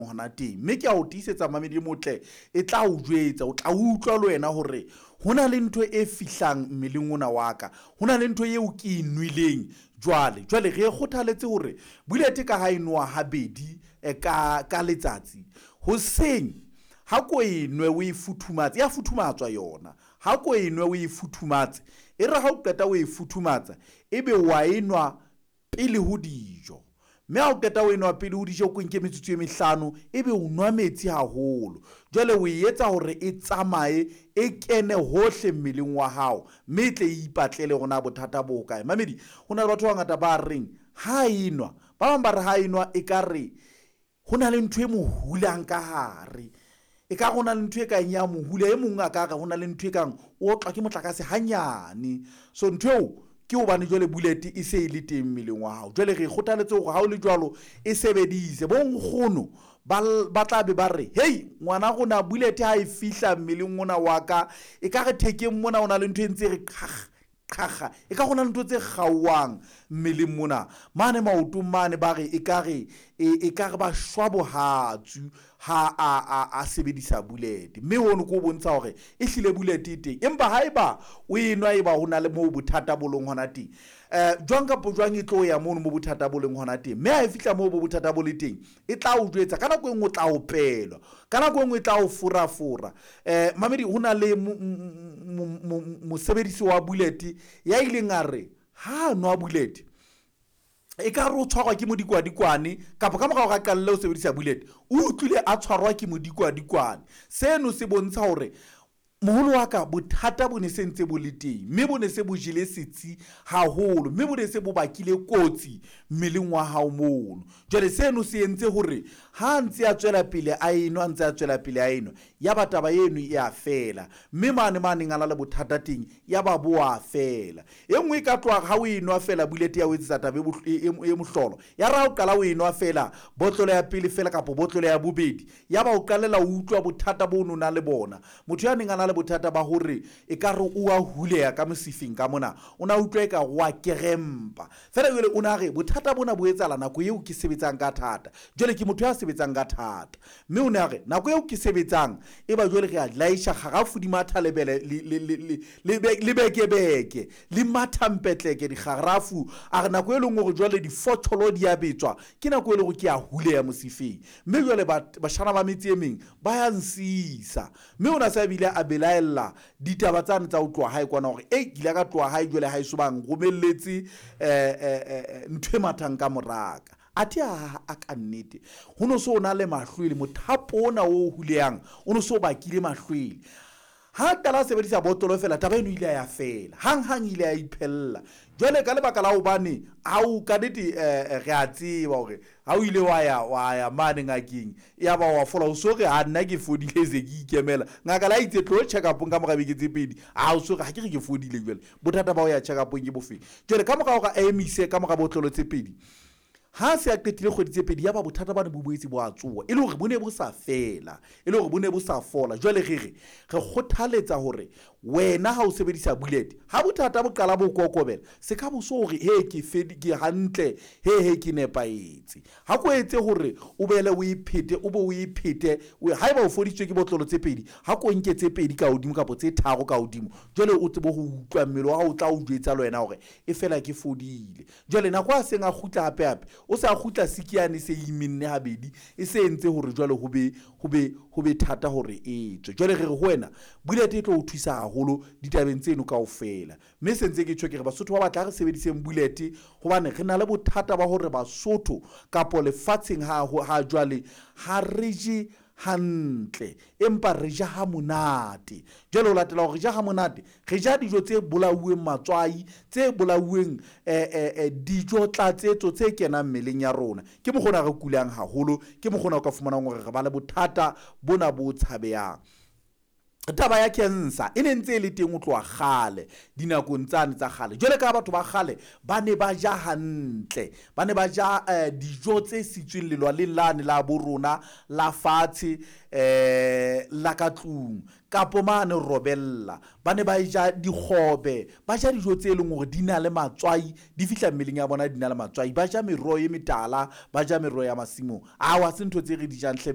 Hona teng, mme ke a o tiisetsa mamedi e motle, e tla o jwetsa, o tla utlwa le wena hore ho na le ntho e fihlang mmeleng ona wa ka, ho na le ntho eo ke e nweleng. Jwale re e kgothaletse hore bullet ka ha e nowa habedi ka letsatsi. Hoseng ha ko e nwe o e futhumatse, ya futhumatswa yona, ha ko e nwe o e futhumatse, e re ha o qeta o e futhumatsa, ebe wa e nwa pele ho dijo. Mme ha o qeta o enwa pele ho dijo, o nke metsotso e mehlano, ebe o nwa metsi haholo. Jwale o e etsa hore e tsamaye e kene hohle mmeleng wa hao, mme e tle e ipatlele hore na bothata bo hokae. Mamedi, ho na le batho ba bangata ba reng ha enwa, ba bang ba re ha enwa e ka re ho na le ntho e mo hulang ka hare, e ka re ho na le ntho e kang ya mo hula, e mong a ka re ho na le ntho e kang o otlwa ke motlakase hanyane. So ntho eo ke hobane jwale bullet e se e le teng mmeleng wa hao. Jwale re kgothaletse hore ha o le jwalo e sebedise. Bo nkgono ba tla be ba re, hei ngwana rona, bullet ha e fihla mmeleng ona wa ka, e ka re thekeng mona o na le ntho e ntse re qhakga qhakga, e ka go na le ntho tse kgaoang mmeleng mona, mane maotong mane, ba re e ka re e ka re ba shwa bohatsu ha a sebedisa bullet. Mme hono ke o bontsha hore e hlile bullet e teng. Empa haeba o e nwa e ba ho na le moo bothata bo leng hona teng, jwang kapa jwang e tlo ya mono mo bothata bo leng hona teng. Mme ha e fihla moo bo bothata bo le teng, e tla o jwetsa. Ka nako e nngwe o tla opelwa, ka nako e nngwe e tla o forafora. Mamedi, ho na le mosebedisi wa bullet ya ileng a re ha nwa bullet e ka re o tshwarwa ke modikwadikwane, kapa ka morao ga qalelle ho sebedisa bullet o utlwile a tshwarwa ke modikwadikwane. Seno se bontsha hore moholo wa ka bothata bo ne se ntse bo le teng, mme bo ne se bo jele setsi haholo, mme bo ne se bo bakile kotsi mmeleng wa hao mono. Jwale seno se entse hore ha ntse a tswela pele a enwa, ntse a tswela pele a enwa, ya ba taba eno e a fela, mme mane maneng a na le bothata teng ya ba bo a fela. E nngwe e ka tloha ha o enwa fela bullet ya o etsetsa taba e mohlolo, ya re ha o qala o enwa fela botlolo ya pele fela kapa botlolo ya bobedi, ya ba o qalela o utlwa bothata bo no na le bona. Motho ya neng a na le bothata ba hore e ka re o a huleya ka mosifeng ka mona, o na utlwa e ka o a kerempa fela. Jwale o na re bothata bona bo etsahala nako eo ke sebetsang ka thata. Jwale ke motho ya sebetsang ka thata, mme o ne a re nako eo ke sebetsang e ba jwale re a laisha kgarafu di matha lebele le bekebeke le matha mpetleke dikgarafu. A re nako e leng hore jwale difotsholo di a betswa, ke nako e leng hore ke a huleya mosifeng, mme jwale bashana ba metse e meng ba ya nsisa. Mme o na se a bile a belaella ditaba tsane tsa ho tloha hae kwana, hore ei ke ile ka tloha hae jwale ha eso ba nromelletse ntho e mathang ka moraka. Athe a ka nnete ho no so o na le mahlwele, mothapo ona o huleyang o no so bakile mahlwele. Ha qala a sebedisa botlolo fela, taba eno ile ya fela hang-hang, ile ya iphella. Jwale ka lebaka la hobane ha o ka nnete, re a tseba hore ha o ile wa ya mane ngakeng, ya ba wa fola, o so re ha nna ke fodile se ke ikemela. Ngaka la itse tlo check up-ong ka mora beke tse pedi, ha o so re ha ke re ke fodile. Jwale bothata ba ho ya check up-ong ke bofeng? Jwale ka mora hore a emise ka mora botlolo tse pedi, ha se a qetile kgwedi tse pedi, ya ba bothata bane bo boetse bo a tsoha, e le hore bo ne bo sa fela, e le hore bo ne bo sa fola. Jwale re re re kgothaletsa hore wena ha o sebedisa bullet, ha bothata bo qala bo kokobela, se ka bo so hore he ke fedi, ke hantle, he ke nepahetse. Ha ko etse hore o bele o e phete, o be o e phete. Haeba o fodisitswe ke botlolo tse pedi, ha ko nke tse pedi ka hodimo kapa tse tharo ka hodimo, jwale o tsebe ho utlwa mmele wa hao o tla o jwetsa le wena hore e fela ke fodile. Jwale nako a seng a kgutla hape hape, o se a kgutla sikiane se imenne habedi, e se entse hore jwale ho be thata hore e tswe. Jwale re re ho wena bullet e tlo o thusa haholo ditabeng tseno kaofela. Mme se ntse ke tjho ke re Basotho ba batla re sebediseng bullet, hobane re na le bothata ba hore Basotho kapo lefatsheng ha jwale ha re je hantle, empa re ja ha monate. Jwale ho latela hore re ja ha monate, re ja dijo tse bolauweng matswai, tse bolauweng dijo tlatsetso tse kenang mmeleng ya rona. Ke mokgona re kulang haholo, ke mokgona o ka fumanang hore re ba le bothata bona bo tshabehang. Taba ya cancer e ne ntse e le teng ho tloha kgale, dinakong tsane tsa kgale. Jwale ka batho ba kgale ba ne ba ja hantle, ba ne ba ja dijo tse sitsweng lelwaleng lane la bo rona la fatshe, la ka tlung kapo mane robella, ba ne ba ja dikgobe, ba ja dijo tse leng hore di na le matswai, di fihla mmeleng ya bona di na le matswai, ba ja meroho e metala, ba ja meroho ya masimong. Awa se ntho tse re di jang hle.